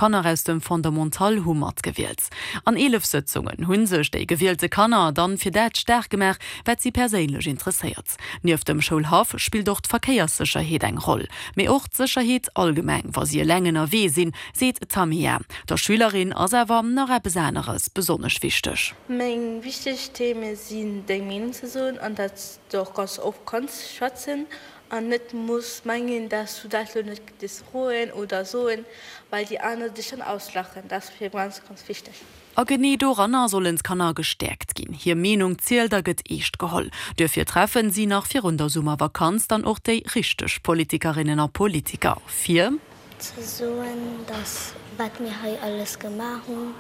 Kanner aus dem Fondamental hu matgewielt. An 11 Sëtzungen hu sech déi gewielte Kanner dann fir dat staark gemaach, wat si perséinlech interesséiert. Nieft dem Schoulhaff spillt och d'Verkéierssécherheet eng Roll, mee och d'Sécherheet allgemeng, wa si eleng ënnerwee sinn, seet d'Tamia. Der Schülerin ass awer nach eppes aneres besonnesch wichteg. Meng wichteg Theme sinn deng Meenung ze soen an datt s de och ganz oft kanns schwätzen An net muss mengen, dass du dat lo net dierfs froen oder soen, well déi aner dech dann auslachen. Dat ass fir ganz, ganz wichteg. A genee doranner sollen d'Kanner gestäerkt ginn. Hir Meenung zielt a gëtt eescht geholl. Duerfir treffen si nach virun der Summervakanz dann och déi richteg Politikerinnen a Politiker, fir. Ze soen, dass wat mir hei alles gemaach hunn,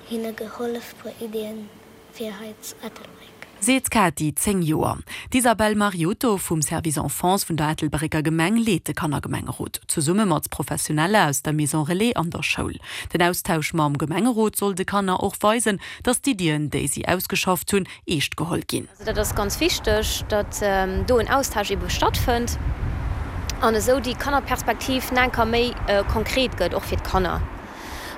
hinne gehollef puer Iddien fir hei zu Ettelbréck. Seet d'Katy, 10 Joer. D'Isabelle Mariotto vum Service Enfance vun der Ettelbrécker Gemeng leet de Kannergemengerot, zesumme mat Professionelle aus der Maison Relais an der Schoul. Den Austausch mam Gemengerot soll de Kanner och weisen, datt d'Iddien, déi si ausgeschafft hunn, eescht geholl ginn. Also dat ass ganz wichteg, datt do en Austausch ebe stattfënnt an esou déi Kannerperspektiv nach eng Kéier méi konkret gëtt, och fir d'Kanner.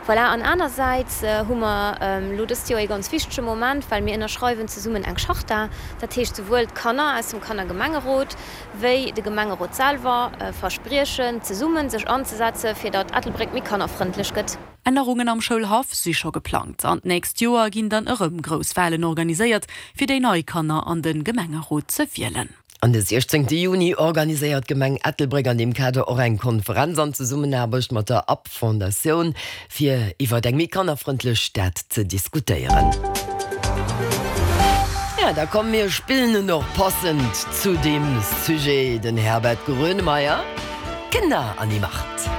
Voilà, an anersäits hu mer elo dëst Joer ee ganz wichtege Moment, well mir ënnerschreiwen zesummen eng Charta. Dat heescht, souwuel d'Kanner aus dem Kannergemengerot wéi de Gemengerot selwer verspriechen, zesummen sech anzesetze fir datt Ettelbréck méi kannerfrëndlech gëtt. Ännerungen am Schoulhaff si scho geplangt an d'nächst Joer ginn dann erëm grouss Walen organiséiert, fir déi nei Kanner an de Gemengerot ze wielen. An de 16 Juni organiséiert d'Gemeng Ettelbréck an deem Kader och eng Konferenz an Zesummenaarbecht mat der Up Fondatioun, fir iwwert eng méi kannerfrëndlech Stad ze diskutéieren. Ja, da komm mir spillen en och passend zu deem Sujet den Herbert Grönemeyer, Kinder an die Macht.